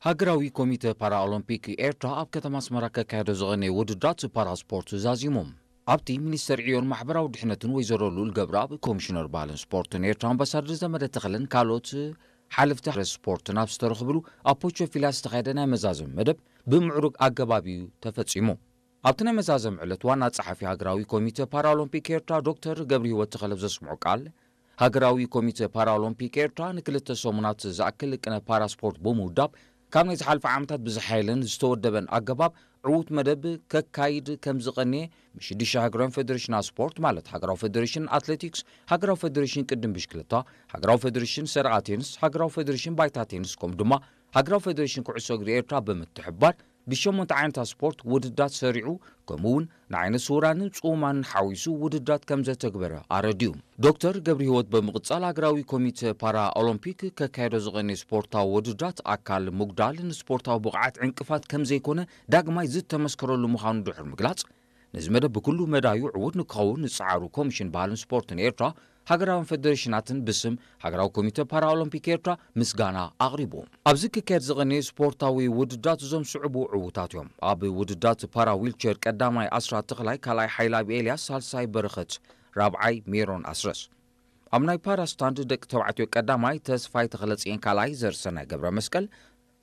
ሃገራዊ ኮሚተ ፓራኦሎምፒክ ኤርትራ ኣብ ከተማ ኣስመራ ከካየዶ ዝቐነየ ውድድራት ፓራስፖርት ዛዚሙ። ኣብቲ ሚኒስተር ዕዮን ማሕበራዊ ድሕነትን ወይዘሮ ሉል ገብረኣብ፣ ኮሚሽነር ባህልን ስፖርትን ኤርትራ ኣምባሳደር ዘመደ ተኽለን ካልኦት ሓለፍቲ ስፖርትን ኣብ ዝተረኽብሉ ኣብ ፖቾ ፊላ ዝተኻየደ ናይ መዛዘሚ መደብ ብምዕሩግ ኣገባብ እዩ ተፈጺሙ። ኣብቲ ናይ መዛዘሚ ዕለት ዋና ጸሓፊ ሃገራዊ ኮሚተ ፓራኦሎምፒክ ኤርትራ ዶክተር ገብረሂወት ተኽለ ዘስምዖ ቃል፣ ሃገራዊ ኮሚተ ፓራኦሎምፒክ ኤርትራ ንክልተ ሰሙናት ዝኣክል ቅነ ፓራስፖርት ብምውዳብ ካብ ናይ ዝሓለፈ ዓመታት ብዝሓየለን ዝተወደበን ኣገባብ ዕዉት መደብ ከካይድ ከም ዝቐንየ፣ ምስ ሽዱሽተ ሃገራውያን ፌደሬሽናት ስፖርት ማለት ሃገራዊ ፌደሬሽን ኣትሌቲክስ፣ ሃገራዊ ፌደሬሽን ቅድም ብሽክለታ፣ ሃገራዊ ፌደሬሽን ሰረቓ ቴንስ፣ ሃገራዊ ፌደሬሽን ባይታ ቴንስ ከምኡ ድማ ሃገራዊ ፌደሬሽን ኩዕሶ እግሪ ኤርትራ ብምትሕብባር ብሸሞንተ ዓይነታት ስፖርት ውድድራት ሰሪዑ፣ ከምኡ እውን ንዓይነ ስውራንን ጽሙማንን ሓዊሱ ውድድራት ከም ዘተግበረ ኣረዲኡ። ዶክተር ገብረሂወት ብምቕጻል ሃገራዊ ኮሚተ ፓራ ኦሎምፒክ ከካየዶ ዝቐነየ ስፖርታዊ ውድድራት ኣካል ምጉዳል ንስፖርታዊ ብቕዓት ዕንቅፋት ከም ዘይኮነ ዳግማይ ዝተመስከረሉ ምዃኑ ድሕሪ ምግላጽ፣ ነዚ መደብ ብኩሉ መዳዩ ዕዉት ንክኸውን ዝጸዓሩ ኮሚሽን ባህልን ስፖርትን ኤርትራ፣ ሃገራውያን ፌደሬሽናትን ብስም ሃገራዊ ኮሚተ ፓራኦሎምፒክ ኤርትራ ምስጋና ኣቕሪቡ። ኣብዚ ክካየድ ዝቐነየ ስፖርታዊ ውድድራት እዞም ዝስዕቡ ዕዉታት እዮም። ኣብ ውድድራት ፓራ ዊልቸር ቀዳማይ ኣስራት ተኽላይ፣ ካልኣይ ሓይላብ ኤልያስ፣ ሳልሳይ በረኸት፣ ራብዓይ ሜሮን ኣስረስ። ኣብ ናይ ፓራ ስታንድ ደቂ ተባዕትዮ ቀዳማይ ተስፋይ ተኽለጽየን፣ ካልኣይ ዘርሰናይ ገብረ መስቀል፣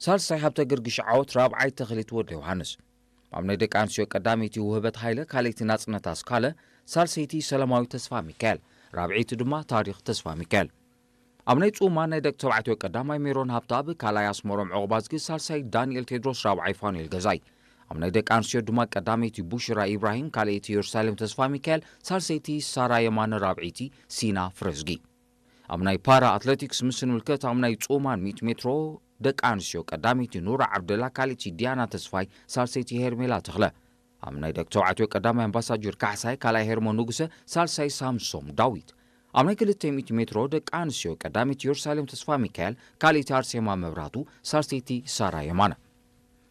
ሳልሳይ ሃብተ ገርግሽ ዓወት፣ ራብዓይ ተኽሊት ወልደ ዮሃንስ። ኣብ ናይ ደቂ ኣንስትዮ ቀዳመይቲ ውህበት ሃይለ፣ ካልኣይቲ ናጽነት ኣስካለ፣ ሳልሰይቲ ሰላማዊ ተስፋ ሚካኤል፣ ራብዐይቲ ድማ ታሪኽ ተስፋ ሚካኤል። ኣብ ናይ ጽሙማን ናይ ደቂ ተባዕትዮ ቀዳማይ ሜሮን ሃብተኣብ፣ ካልኣይ ኣስመሮም ዑቕባዝጊ፣ ሳልሳይ ዳንኤል ቴድሮስ፣ ራብዓይ ፋኑኤል ገዛይ። ኣብ ናይ ደቂ ኣንስትዮ ድማ ቀዳመይቲ ቡሽራ ኢብራሂም፣ ካልኣይቲ ኢየሩሳሌም ተስፋ ሚካኤል፣ ሳልሰይቲ ሳራ የማነ፣ ራብዐይቲ ሲና ፍረዝጊ። ኣብ ናይ ፓራ ኣትሌቲክስ ምስ ንምልከት፣ ኣብ ናይ ጽሙማን ሚእቲ ሜትሮ ደቂ ኣንስትዮ ቀዳመይቲ ኑራ ዓብደላ፣ ካልኣይቲ ዲያና ተስፋይ፣ ሳልሰይቲ ሄርሜላ ተኽለ። ኣብ ናይ ደቂ ተባዕትዮ ቀዳማይ ኣምባሳጀር ካሕሳይ፣ ካልኣይ ሄርሞን ንጉሰ፣ ሳልሳይ ሳምሶም ዳዊት። ኣብ ናይ ክልተ ሚእቲ ሜትሮ ደቂ ኣንስትዮ ቀዳመይቲ ኢየሩሳሌም ተስፋ ሚካኤል፣ ካልኣይቲ ኣርሴማ መብራቱ፣ ሳልሰይቲ ሳራ የማነ።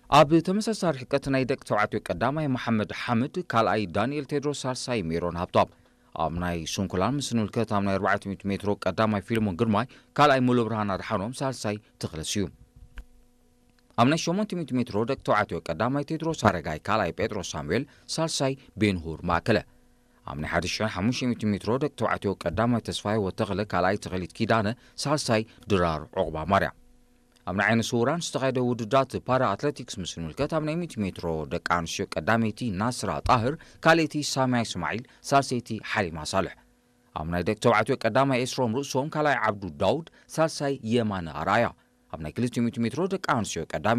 ኣብ ተመሳሳሊ ርሕቀት ናይ ደቂ ተባዕትዮ ቀዳማይ መሓመድ ሓምድ፣ ካልኣይ ዳንኤል ቴድሮስ፣ ሳልሳይ ሜሮን ሃብቶም። ኣብ ናይ ስንኩላን ምስ ንምልከት፣ ኣብ ናይ ኣርባዕተ ሚእቲ ሜትሮ ቀዳማይ ፊልሞን ግርማይ፣ ካልኣይ ሙሉብርሃን ኣድሓኖም፣ ሳልሳይ ተኽለ ስዩም። ኣብ ናይ ሸሞንተ ሚእቲ ሜትሮ ደቂ ተባዕትዮ ቀዳማይ ቴድሮስ ኣረጋይ፣ ካልኣይ ጴጥሮስ ሳሙኤል፣ ሳልሳይ ቤንሁር ማእከለ። ኣብ ናይ ሓደ ሽሕን ሓሙሽተ ሚእቲ ሜትሮ ደቂ ተባዕትዮ ቀዳማይ ተስፋይ ወተኽለ፣ ካልኣይ ተኽሊት ኪዳነ፣ ሳልሳይ ድራር ዑቕባ ማርያም። ኣብ ናይ ዓይነ ስውራን ዝተኻየደ ውድድራት ፓራ ኣትሌቲክስ ምስ ንምልከት፣ ኣብ ናይ ሚእቲ ሜትሮ ደቂ ኣንስትዮ ቀዳመይቲ ናስራ ጣህር፣ ካልኣይቲ ሳምያ እስማዒል፣ ሳልሰይቲ ሓሊማ ሳልሕ። ኣብ ናይ ደቂ ተባዕትዮ ቀዳማይ ኤስሮም ርእሶም፣ ካልኣይ ዓብዱ ዳውድ፣ ሳልሳይ የማነ ኣርኣያ። ኣብ ናይ ክልተ ሚእቲ ሜትሮ ደቂ ኣንስትዮ ቀዳመይቲ